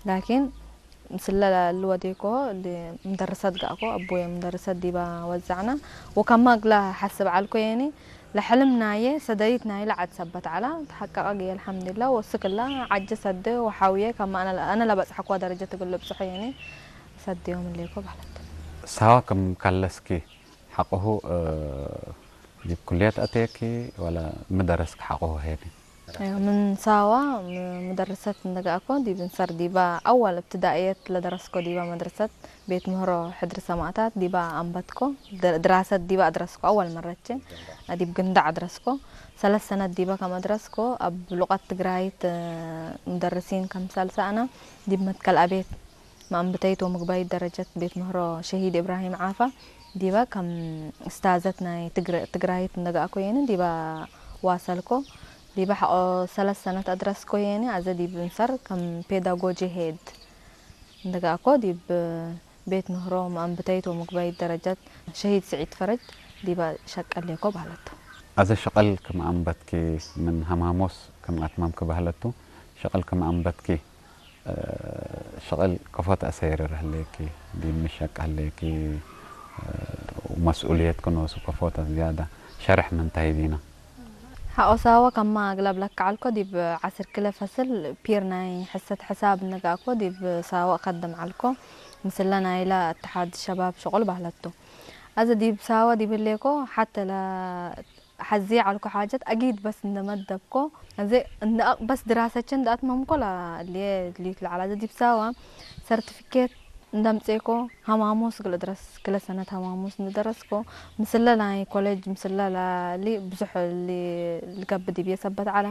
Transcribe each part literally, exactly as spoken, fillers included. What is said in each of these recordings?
ላኪን፣ ምስለ ለልወዴኮ እሊ ምደርሰት ገአኮ፣ አቡየ ምደርሰት ዲበ ወዘዕነ፣ ወከማ እግለ ሐስብ ዐልኮ የኒ፣ ለሕልም ናየ ሰደይት ናይለ ዐድ ሰበት ዐለ፣ ተሐቀቀ ግየ አልሐምድላ፣ ወእስክ እለ ዐጀ ሰዴ ወሐውየ፣ ከማ አነ፣ አነ ለበጽሐኮ ደረጀት እግል ልብጽሖ የኒ፣ ሰድዮም እሌኮ በህለት። ሳዋ ክም ከለስኪ ሐቆሁ፣ እ፣ ዲብ ኩልየት አቴኪ ወለ ሚ ደረስክ ሐቆሁ ሄኒ? ምን ሳዋ ም-፣ ምደርሰት እንደ ገአኮ ዲብ እንሰር ዲበ አወል እብትዳእየት ለደረስኮ ዲበ መድረሰት ቤት ምህሮ ሕድር ሰማእታት ዲበ አንበትኮ። ድ-፣ ድራሰት ዲበ አድረስኮ አወል መረቼ ዲብ ግንዳዕ አድረስኮ። ሰለስ ሰነት ዲበ ከም አድረስኮ እብ ሉቀት ትግራይት፣ እ፣ ሙደርሲን ከምሰል ሰአነ ዲብ መትከል አቤት መአንብተይት ወምግባይት ደረጀት ቤት ምህሮ ሸሂድ እብራሂም ዓፋ ዲበ ከም እስታዘት ናይ ትግረ-፣ ትግራይት እንደ ገአኮ የኒ ዲበ ዋሰልኮ። ዲበ ሐቆ ሰለስ ሰነት አድረስኮ የኒ አዘ ዲብ እንሰር ከም ፔዳጎጂ ሄድ እንደ ገአኮ ዲብ ቤት ምህሮ መአንብተይት ወምግባይት ደረጀት ሸሂድ ስዒድ ፈረጅ ዲበ ሸቀሌኮ በህለቱ። አዘ ሸቀል ክም አንበትኪ ምን ሐማሞስ ክም አትመምኪ በህለቱ። ሸቀል ክም አንበትኪ ሸቅል ከፎ ተአሰይርር ህሌኪ፣ ዲብ ምሸቅ ህሌኪ፣ ወመስኡልየትኪ ኖሱ ከፎ ተዝያደ ሸርሕ ምን ተህይቢነ። ሐቆ ሳወ ከማ እግለብ ለከዐልኮ፣ ዲብ ዐስር ክለ ፈስል ፒር ናይ ሕሰት ሕሳብ እንገአኮ፣ ዲብ ሳወ እከድም ዐልኮ። ምስለ ናይለ እትሓድ ሸባብ ሸቁል በህለቱ። አዘ ዲብ ሳወ ዲብ ህሌኮ፣ ሐተ ለ ሐዜ ዐልኮ ሓጀት አጊድ በስ እንደ መደብኮ፣ አዜ እንደ አቅ-፣ በስ ድራሰቼ እንደ አትመምኮ ላ-፣ እልዬ እሊት ለዐለ። አዜ ዲብ ሳዋ ሰርቲፊኬት እንደ አምጼኮ፣ ሐማሙስ እግል እድረስ፣ ክለ ሰነት ሐማሙስ እንደ ደረስኮ፣ ምስለ ናይ ኮሌጅ ምስለ ላሊ ብዙሕ እሊ ልገብእ ዲብዬ ሰበት ዐለ።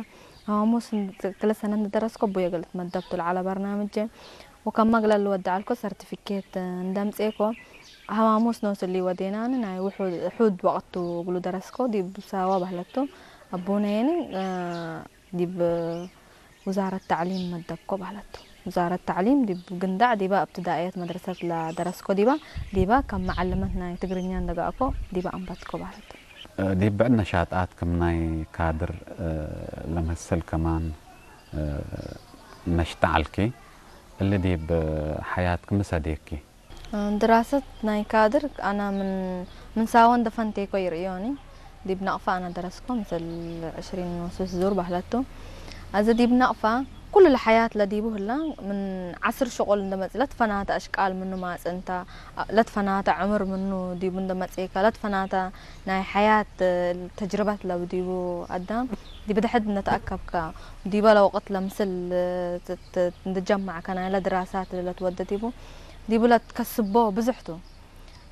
ሐማሙስ እንደ ክለ ሰነት እንደ ደረስኮ፣ እቡዬ እግል እትመደብቱ ለዐለ በርናምጄ። ወከመ እግለ ልወዴ ዐልኮ ሰርቲፊኬት እንደ አምጼኮ፣ ሐማሙስ ኖስ እሊ ወዴናኒ ናይ ውሑ-፣ ውሑድ ወቅት ቱ እግሉ ደረስኮ ዲብ ሳዋ በህለቱ። አቡነ የኒ፣ እ፣ ዲብ ውዛረት ተዕሊም መደብኮ በህለቱ። ውዛረት ተዕሊም ዲብ ግንዳዕ ዲበ እብትዳእየት መድረሰት ለደረስኮ ዲበ፣ ዲበ ከም መዐልመት ናይ ትግርኛ እንደ ገአኮ ዲበ አንበትኮ በህለቱ። ዲብ ብዕድ ነሻጣት ክም ናይ ካድር ለመስል ከማን ነሽጠ ዐልኪ። እሊ ዲብ ሐያትኪ ሚ ሰዴኪ? ድራሰት ናይ ካድር አነ ምን፣ ምን ሳወ እንደ ፈንቴኮ ይርእዮኒ። ዲብ ነቅፈ አነ ደረስኮ ምስል ዕሽሪን ወስስ ዙር በህለቱ። አዜ ዲብ ነቅፈ ኩሉ ለሐያት ለዲቡ ህላ ምን ዐስር ሽቁል እንደ መጽእ ለትፈናተ አሽቃል ምኑ ማጽእንተ ለትፈናተ ዕምር ምኑ ዲቡ እንደ መጽኤከ፣ ለትፈናተ ናይ ሐያት ተጅርበት ለቡ ዲቡ አዳም ዲብ ደሐድ እንደ ተአከብከ፣ ዲበ ለወቅት ለምስል ት-፣ ት-፣ እንደ ጀመዕከ ናይለ ድራሳት ለትወደ ዲቡ፣ ዲቡ ለትከስቦ ብዙሕ ቱ።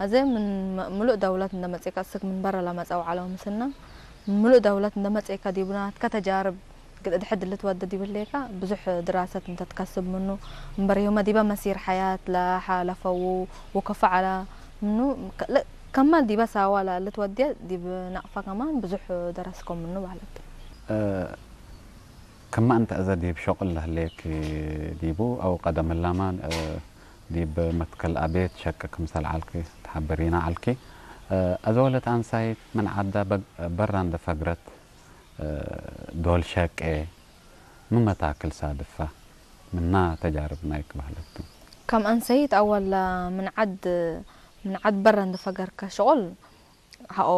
አዜ ምን መ-፣ ምሉእ ደውለት እንደ መጽኤከ፣ እስክ ምን በረ ለመጸው ዐለው ምስልነ፣ ምን ምሉእ ደውለት እንደ መጽኤከ ዲቡ ናትከ ተጃርብ እግል እድሕድ ልትወደ ዲብ ህሌከ፣ ብዙሕ ድራሰት እንተ ትከስብ ምኑ፣ እምበሪሁመ ዲበ መሲር ሐያት ለሓለፈው ወከፎ ዐለ ምኑ፣ ከ-፣ ለ-፣ ከማል ዲበ ሳዋ ለልትወድየ ዲብ ነቅፈ ከማን ብዙሕ ደረስኮ ምኑ በህለት። እ፣ ከመ እንተ አዘ ዲብ ሸቁል ለህሌክ ዲቡ አው ቀደም ህላመ፣ እ፣ ዲብ መትከል አቤት ሸቂ ክምሰል ዐልኪ ተሐብሪነ ዐልኪ። እ፣ አዘ ወለት አንሳይት ምን ዐዳ በግ-፣ በራ እንደ ፈግረት፣ እ፣ ዶል ሸቄ ምን መታክል ሳድፋ ምና ተጃርብ ናይክ በህለት ቱ። ከም አንሰይት አወል ምን ዐድ፣ ምን ዐድ በረ እንደ ፈገርከ ሸቁል ሐቆ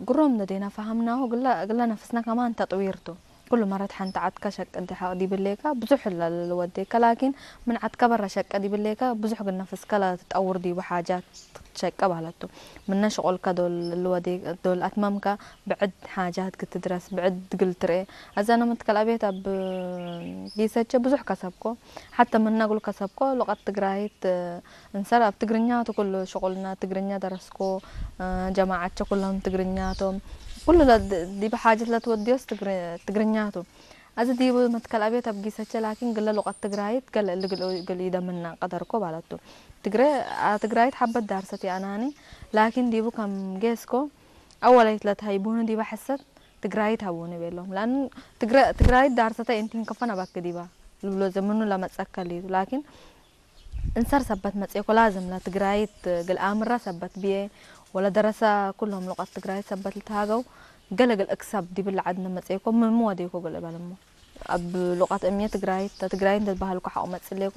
ግሩም እንዴነ ፈሀምናሁ፣ እግለ፣ እግለ ነፍስነ ከማን ተጥዊር ቱ። ኩሉ መረት ሐንቲ ዐድከ ሸቅ እንዴ ሐቅ ዲብ ህሌከ ብዙሕ ለልወዴከ፣ ላኪን ምን ዐድከ በረ ሸቅ ዲብ ህሌከ ብዙሕ እግል ነፍስከ ለትጠውር ዲቡ ሓጃት ትሸቀ በህለት ቱ። ምነ ሽቁልከ ዶል ልወዴ፣ ዶል አትመምከ ብዕድ ሓጃት እግል ትድረስ፣ ብዕድ እግል ትርኤ። አዜ አነ መትከል አቤት እብ ጊሰቼ ብዙሕ ከሰብኮ። ሐተ ምነ እግሉ ከሰብኮ ሉቀት ትግራይት እንሰር እብ ትግርኛ ቱ ኩሉ ሽቁልና፣ ትግርኛ ደረስኮ፣ ጀማዐቼ ኩሎም ትግርኛ ቶም። ኩሉ ለ-፣ ዲበ ሓጀት ለትወድዮስ ትግር-፣ ትግርኛ ቱ። አዜ ዲቡ መትከል አቤት እብ ጊሰቼ ላኪን፣ ግለ ሉቀት ትግራይት ገሌ እሊ እግል፣ እግል ኢደምነ ቀደርኮ በህለት ቱ። ትግሬ፣ አ፣ ትግራይት ሐበት ዳርሰት የአናኒ፣ ላኪን ዲቡ ከም ጌስኮ፣ አወላይት ለትሀይቡኒ ዲበ ሕሰት ትግራይት ሀቡኒ ቤሎም። ለአኑ ትግረ-፣ ትግራይት ዳርሰተ እንቲን ከፎ ነበክ ዲበ ልብሎ ዘመኑ ለመጸከል እዩ። ላኪን እንሰር ሰበት መጽኤኮ ላዝም ለትግራይት እግል አምረ ሰበት ብዬ ወለደረሰ ኩሎም ሉቀት ትግራይት ሰበት ልትሃገው ገሌ እግል እክሰብ ዲብለ ዐድ እንደ መጽኤኮ ምንሚ ወዴኮ እግል እበልሞ። እብ ሉቀት እምዬ ትግራይት፣ ትግራይት እንተ ትበሀልኮ ሐቆ መጽሌኮ፣